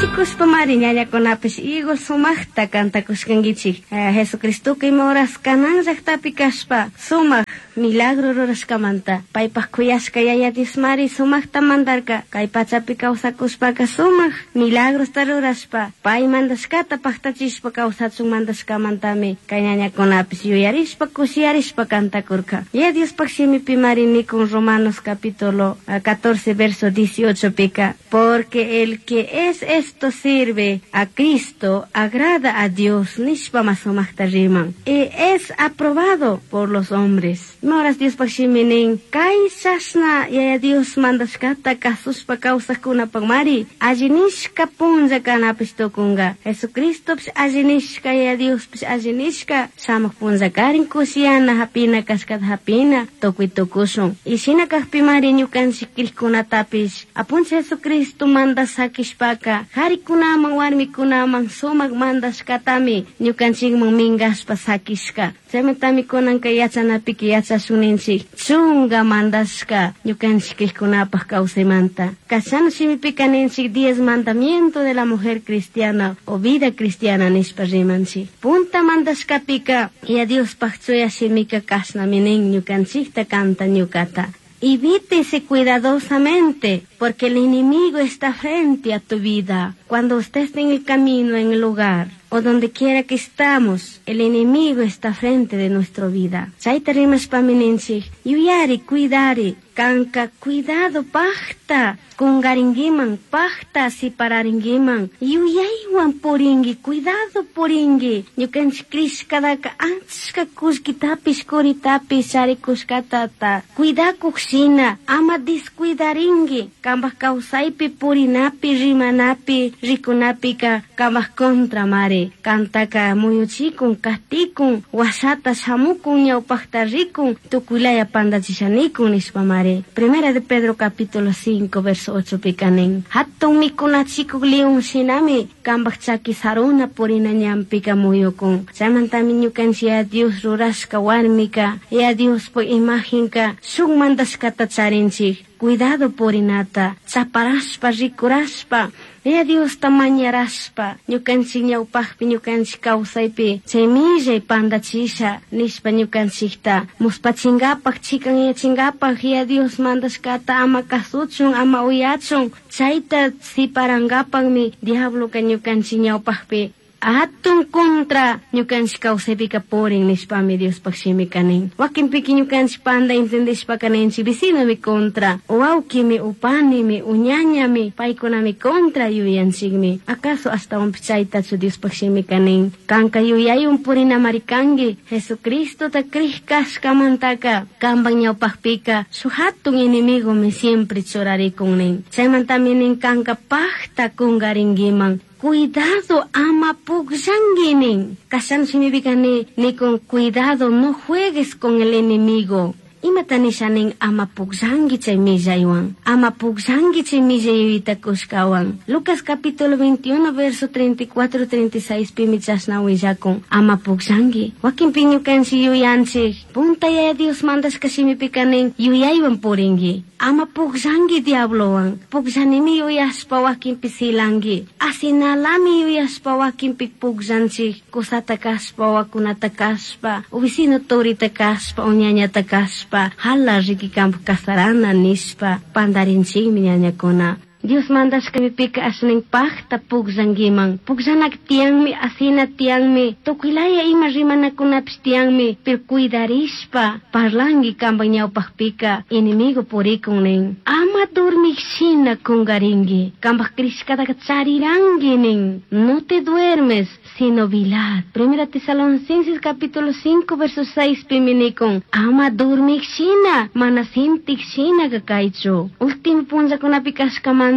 Kushikushpamari ñañakunapish igual sumaqta kantakushkankichik. Jesucristoka ima horas Canaán llaqtapi kashpa sumaq milagro rurashkamanta paypaq kuyashka Yaya Diosmari sumaqta mandarka kay pachapi kawsakushpaka sumaq milagrosta rurashpa pay mandashkata paqtachishpa kawsachun mandashkamantami kay ñañakunapish yuyarishpa kushiyarishpa kantakurka. Yaya Diospaq shimipimari nikun Romanos capítulo 14 verso 18 pika porque el que es esto sirve a Cristo agrada a Dios nishpa masumaqta riman y es aprobado por los hombres. Ima horas Diospaq shimi nin kay chashna Yaya Dios mandashkata kasushpa kawsaqkunapaqmari alli nishka punlla kanapish tukunka. Jesucristopish alli nishka Yaya Diospish alli nishka shamuq punllakarin kushiyana hapina kashkata hapina tukuy tukushun. Y shina kaqpimari ñukanchik kriqkunatapish apunchik Jesucristo manda sakishpaka harikunaman warmikunaman sumaq mandashkatami ñukanchikman minkashpa sakishka. Chaymantami kunanka yachanapika yachashun ninchik chunga mandashka ñukanchik kriqkunapaq kawsaymanta. Kashana shimipika ninchik 10 mandamiento de la mujer cristiana o vida cristiana nishpa rimanchik. Punta mandashkapika Yaya Diospaq chuya shimika kashnami nin ñukanchikta kanta ñukata. Evítese cuidadosamente, porque el enemigo está frente a tu vida. Cuando usted esté en el camino, en el lugar, o donde quiera que estamos, el enemigo está frente de nuestra vida. Chayta rimashpami ninchik, yuyari, cuidari, kanka, cuidado, pajta, kungaringuiman, pajta, sipararinguiman, yuyaywan puringi, cuidado puringi, ñukanchik krishkadaka achka kullkitapish kuritapish charikushkatata, cuidakuq shina, ama descuidaringui, kambaj kawsaypi purinapi, rimanapi, rikunapika, kambaj contra mari, kantaka muyuchikun, katikun, washata shamukun, ñawpaqta rikun, tukuylaya pandachishanikun nishpa mari. Primera de Pedro capítulo 5 verso 8 pika nin. Hatun mikunachikuk león shinami kambaj chaki saruna purina ñanpika muyukun. Chaymantami ñukanchik Yaya Dios rurashka warmika, Yaya Diospuk imagenka shuk mandashkata charinchik. Cuidado purinata, chaparashpa, rikurashpa, Yaya Diosta mañarashpa, ñukanchik ñawpaqpi ñukanchik kawsaypi chay millay pandachisha nishpa ñukanchikta muspachinkapak chikanyachinkapak Yaya Dios mandashkata ama kasuchun ama uyachun chayta siparankapakmi diabloka ñukanchik ñawpaqpi hatun contra ñukanchik kawsaypika purin nishpami Diospaq shimika nin. Wakinpika ñukanchik panda entendishpaka ninchik vecinomi contra, wawkimi, upanimi, uñañami, paykunami contra yuyanchikmi. Acaso ashtawanpish chaytachu Diospaq shimika nin. Kanka yuyaywan purinamari kanki Jesucristota krij kashkamantaka kampak ñawpaqpika shuk hatun enemigomi siempre churarikun nin. Chaymantami nin kanka pajta kunkarinkiman. Cuidado ama pukllanki nin. Kashan shimipika ni nikun cuidado no juegues con el enemigo. Imata nisha nin ama pukllanki chay millaywan. Ama pukllanki chay millay yuyayta kushkawan. Lucas capítulo 21 verso 34 36 pimi chashna willakun. Ama pukllanki. Wakinpi ñukanchik yuyanchik. Punta Yaya Dios mandashka shimipika nin yuyaywan purinki. Ama pukllanki diablowan. Pukllanimi yuyashpa wakinpi silanki. Asinalami yuyashpa wakinpi pukllanchik. Kusata kashpa, wakunata kashpa, o vecino turita kashpa, o ñañata kashpa, hala riki kampak kasarana nishpa, pandarinchikmi ñañakuna. Dios mandashkamipika ashnin pajta pukllankiman. Pukllanak tiyanmi, asina tiyanmi, tukuylaya ima rimanakunapish tiyanmi, pero cuidarishpa parlanki kampak ñawpaqpika enemigo purikun nin. Ama dormik shina kunkarinki, kampak krishkataka chariranki nin. No te duermes, sino velad. Primera Tesalonicenses capítulo 5 verso 6 pimi nikun. Ama dormik shina, mana sintik shina kaychu. Último punllakunapi kashkamanta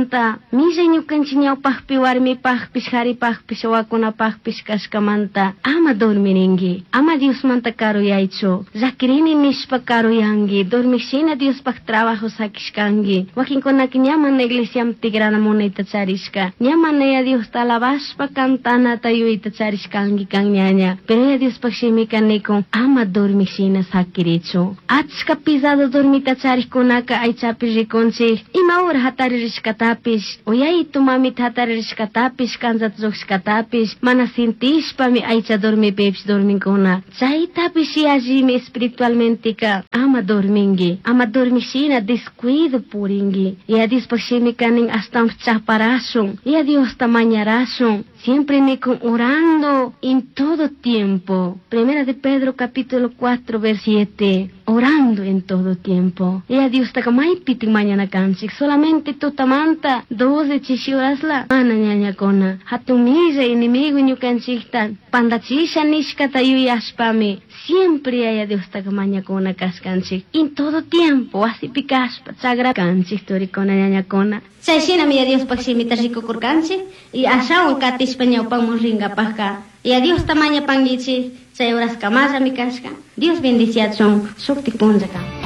millay ñukanchik ñawpaqpi warmipaqpish haripaqpish wawakunapaqpish kashkamanta ama dormirinki, ama Diosmanta karuyaychu. Llakirini nishpa karuyanki, dormik shina Diospaq trabajo sakishkanki. Wakinkunaka ña mana iglesiaman tigrana munayta charishka, ña mana Yaya Diosta alabashpa cantanata yuyayta charishkanki kan ñaña. Pero Yaya Diospaq shimika nikun ama dormik shina sakirichu. Achka pisado dormita charikkunaka aychapi rikunchik, ima hora hatari rishkata hatarishcatapish, uyaytu mamita hataririshcatapish, kanchata llujshishcatapish, mana sintishpami aycha dormipipish dormincuna. Chaytapish yallimi espiritualmenteca ama dormingui, ama dormishina descuido puringui. Yaya Diospaj shimika nin ashtawanpish chaparashun, Yaya Diosta mañarashun. Siempre nikun orando en todo tiempo. Primera de Pedro capítulo 4 verso 7. Orando en todo tiempo. Yaya Diostaca maypitik mañana kanchik. Solamente tutamanta 12 chishi horasla mana ñañakuna. Hatun millay enemigo ñukanchikta pandachisha nishkata yuyashpami siempre Yaya Diostaca mañakuna kashkanchik. En todo tiempo wasipi kashpa chagra kanchik turikuna ñañakuna. Chay shinami Yaya Diospaj shimita rikukurkanchik y ashawan katishpa ñawpaman rinkapajka. Yaya Diosta mañapankichik chay horaskamallami kashka. Dios bendiciachun shuktik punllaka.